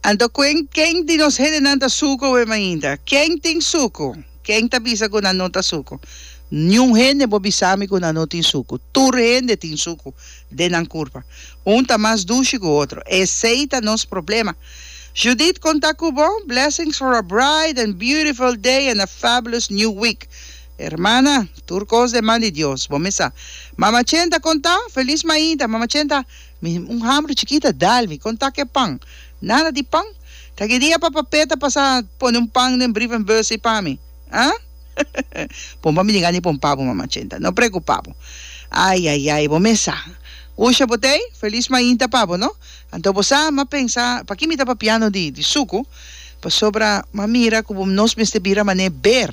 Anto kuen ken di nos hendenan ta suku awe mainta? Ken tin suku? Ken ta bisa ku nan no ta suku? Niun hende bo bisa mi ku nan no tin suku. Tur hende tin suku den nan kurpa. Un ta mas dushi ku otro. Esei ta nos problema. Judith kon ta ku bo? Blessings for a bright and beautiful day and a fabulous new week. Hermana, tur kos den man di Dios. Bo mesa. Mama Chenta kon ta? Felis mainta. Mama Chenta, Mi un hambru chikita dal mi kon ta ke pan? Nada di pan? Ta ki dia papa Pet a pasa pone un pan den brievenbus ei pa mi? Ah? Pompa mi diga ni pompa bo mama Chenta, no preocupa bo. Ai ai ai, bo mes sa. Usha bo t'ei? Felis mainta pa bo no. Anto bo sa, m'a pensa, paki mi ta papiando di di suku? Pasobra m'a mira ku bo nos mester bira man'é ber.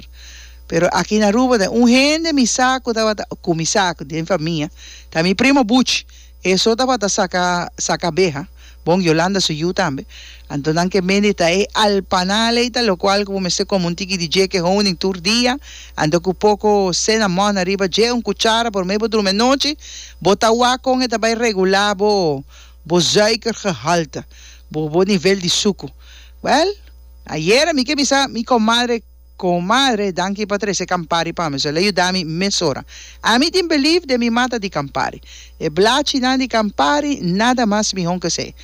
Pero aki na Aruba ta un hende mi sa ku tabata, ku mi sa den famia, ta mi primo Buchi. E so tabata saka saka abeha, bon Yolanda su yu tambe. Anto nan ke mende ta e alpanal ei ta lokual ku bo mester kome un tiki di dje ke honing tur dia, anto ku poko cinnamon ariba dje, un kuchara prome bo drumi anochi, bo ta wak kon e ta bai regulá bo bo suikergehalte, bo bo nivel di suku. Wèl, ayera mi ke bisa mi komadre. Comadre, danki pa trece Campari pa mi. So el a yuda mi mesora. Ami tin belief den mi mata di Campari. E blachinan di Campari, nada mas mihon cu esey.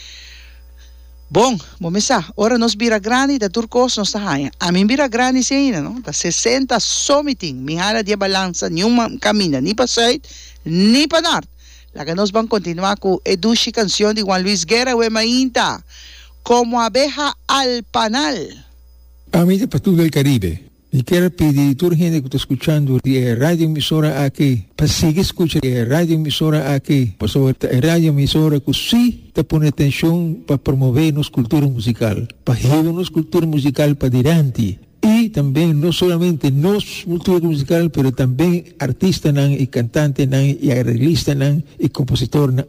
Bon, bo mi sa, ora nos bira grandi ta tur cos nos ta haña. Ami bira grandi si ainda, no? Ta sesenta so mi tin. Mi hala di e balansa niun caminda, ni pa zuid, ni pa nort. Laga nos ban continua cu e dushi cancion di Juan Luis Guerra, We Mainta, Como abeja al panal. Ami ta Patul del Caribe. Mi kier a pidi tur hende ku ta skuchando di e radio emisora aki pa sigui skucha e radio emisora aki pasobra ta e radio emisora ku si ta pone atenshon pa promove nos kultura musikal, pa hiba nos kultura musikal padilanti i tambe no solamente nos kultura musikal pero tambe artistanan i kantantenan i areglistanan i kompositornan.